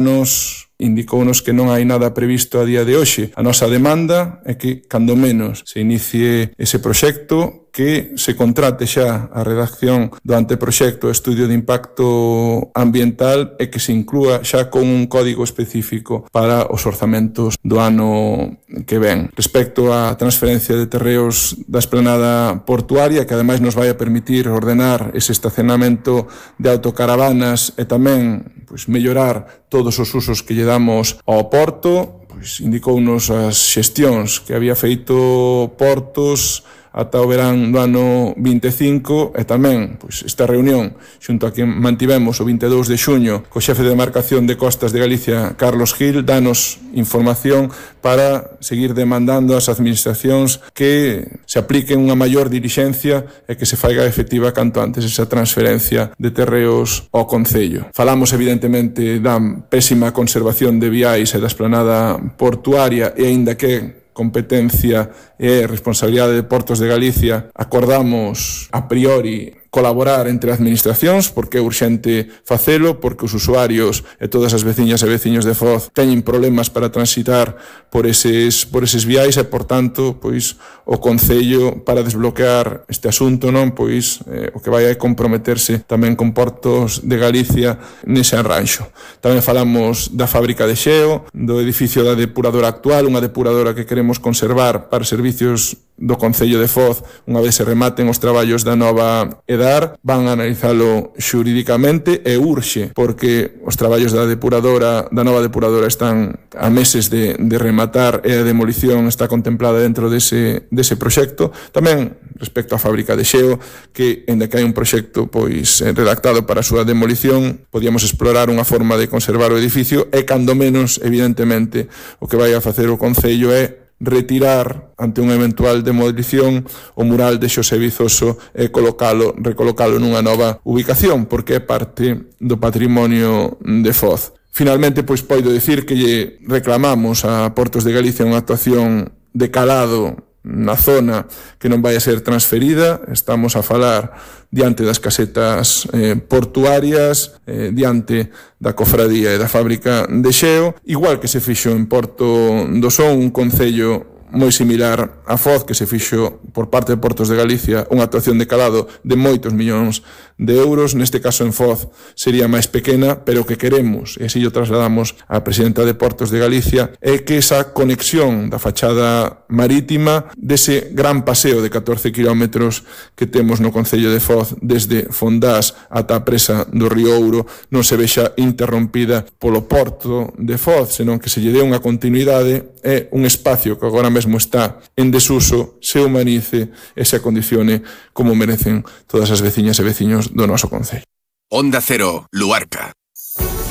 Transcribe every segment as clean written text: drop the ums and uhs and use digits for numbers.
nos indicounos que non hai nada previsto a día de hoxe. A nosa demanda é que, cando menos, se inicie ese proxecto, que se contrate xa a redacción do anteproxecto estudio de impacto ambiental e que se inclúa xa con un código específico para os orzamentos do ano que ven. Respecto á transferencia de terreos da esplanada portuaria, que ademais nos vai a permitir ordenar ese estacionamento de autocaravanas e tamén mellorar todos os usos que lle damos ao porto, indicounos as xestións que había feito Portos ata o verán do ano 25 e tamén esta reunión xunto a que mantivemos o 22 de xuño co xefe de demarcación de Costas de Galicia, Carlos Gil, danos información para seguir demandando ás administracións que se apliquen unha maior dilixencia e que se faiga efectiva canto antes esa transferencia de terreos ao Concello. Falamos evidentemente da pésima conservación de viais e da esplanada portuaria e aínda que competencia e responsabilidade de Portos de Galicia, acordamos a priori colaborar entre administracións porque é urxente facelo, porque os usuarios e todas as veciñas e veciños de Foz teñen problemas para transitar por eses viais e, por tanto, o Concello para desbloquear este asunto, non, o que vai a comprometerse tamén con Portos de Galicia nese arranxo. Tamén falamos da fábrica de xeo, do edificio da depuradora actual, unha depuradora que queremos conservar para servicios do Concello de Foz unha vez se rematen os traballos da nova EDAR, van a analizalo xurídicamente e urxe porque os traballos da nova depuradora están a meses de rematar e a demolición está contemplada dentro dese proxecto. Tamén respecto á fábrica de xeo, que ainda que hai un proxecto redactado para a súa demolición, podíamos explorar unha forma de conservar o edificio e cando menos, evidentemente, o que vai a facer o Concello é retirar ante unha eventual demolición o mural de Xosé Vizoso e recolocalo nunha nova ubicación, porque é parte do patrimonio de Foz. Finalmente, poido dicir que lle reclamamos a Portos de Galicia unha actuación de calado na zona que non vai a ser transferida. Estamos a falar diante das casetas portuarias, diante da cofradía e da fábrica de xeo, igual que se fixo en Porto do Son, un concello moi similar a Foz, que se fixo por parte de Portos de Galicia unha actuación de calado de moitos millóns de euros. Neste caso en Foz sería máis pequena, pero o que queremos, e así o trasladamos á presidenta de Portos de Galicia, é que esa conexión da fachada marítima dese gran paseo de 14 kilómetros que temos no Concello de Foz desde Fondás ata a presa do Río Ouro non se vexa interrompida polo Porto de Foz, senón que se lle dé unha continuidade e un espacio que agora mesmo está en desuso se humanice e se acondicione como merecen todas as veciñas e veciños do noso concello. Onda Cero, Luarca.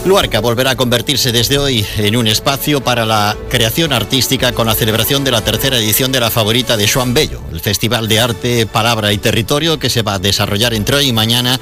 Luarca volverá a convertirse desde hoy en un espacio para la creación artística con la celebración de la tercera edición de La Favorita de Xoán Bello, el Festival de Arte, Palabra y Territorio que se va a desarrollar entre hoy y mañana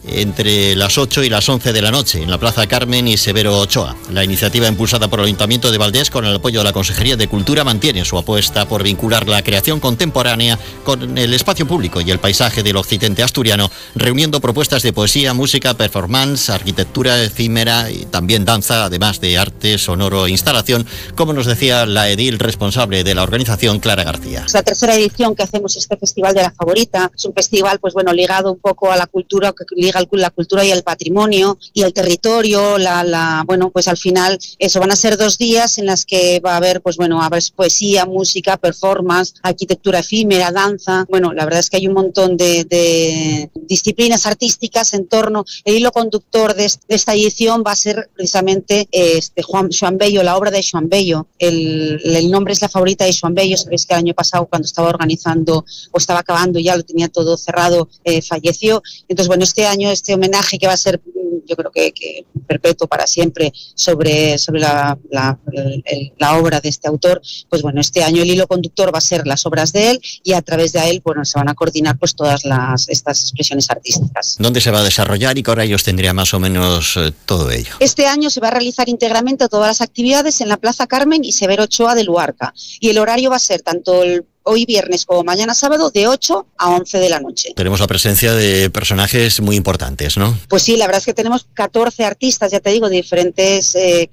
entre las 8 y las 11 de la noche en la Plaza Carmen y Severo Ochoa. La iniciativa impulsada por el Ayuntamiento de Valdés con el apoyo de la Consejería de Cultura mantiene su apuesta por vincular la creación contemporánea con el espacio público y el paisaje del occidente asturiano, reuniendo propuestas de poesía, música, performance, arquitectura efímera y también danza, además de arte sonoro e instalación, como nos decía la edil responsable de la organización, Clara García. Es la tercera edición que hacemos este Festival de La Favorita. Es un festival ligado un poco a la cultura, que liga la cultura y el patrimonio y el territorio, al final eso van a ser 2 días en las que va a haber poesía, música, performance, arquitectura efímera, danza. La verdad es que hay un montón de disciplinas artísticas en torno. El hilo conductor de esta edición va a ser precisamente Xoán Bello, la obra de Xoán Bello. El nombre es La Favorita de Xoán Bello. Sabéis que el año pasado, cuando estaba organizando o estaba acabando, ya lo tenía todo cerrado, falleció. Entonces, este año este homenaje que va a ser, yo creo que perpetuo para siempre sobre la obra de este autor, este año el hilo conductor va a ser las obras de él y a través de él se van a coordinar todas estas expresiones artísticas. ¿Dónde se va a desarrollar y qué horarios tendría más o menos todo ello? Este año se va a realizar íntegramente todas las actividades en la Plaza Carmen y Severo Ochoa de Luarca, y el horario va a ser tanto hoy viernes como mañana sábado de 8 a 11 de la noche. Tenemos la presencia de personajes muy importantes, ¿no? Pues sí, la verdad es que tenemos 14 artistas, ya te digo, de diferentes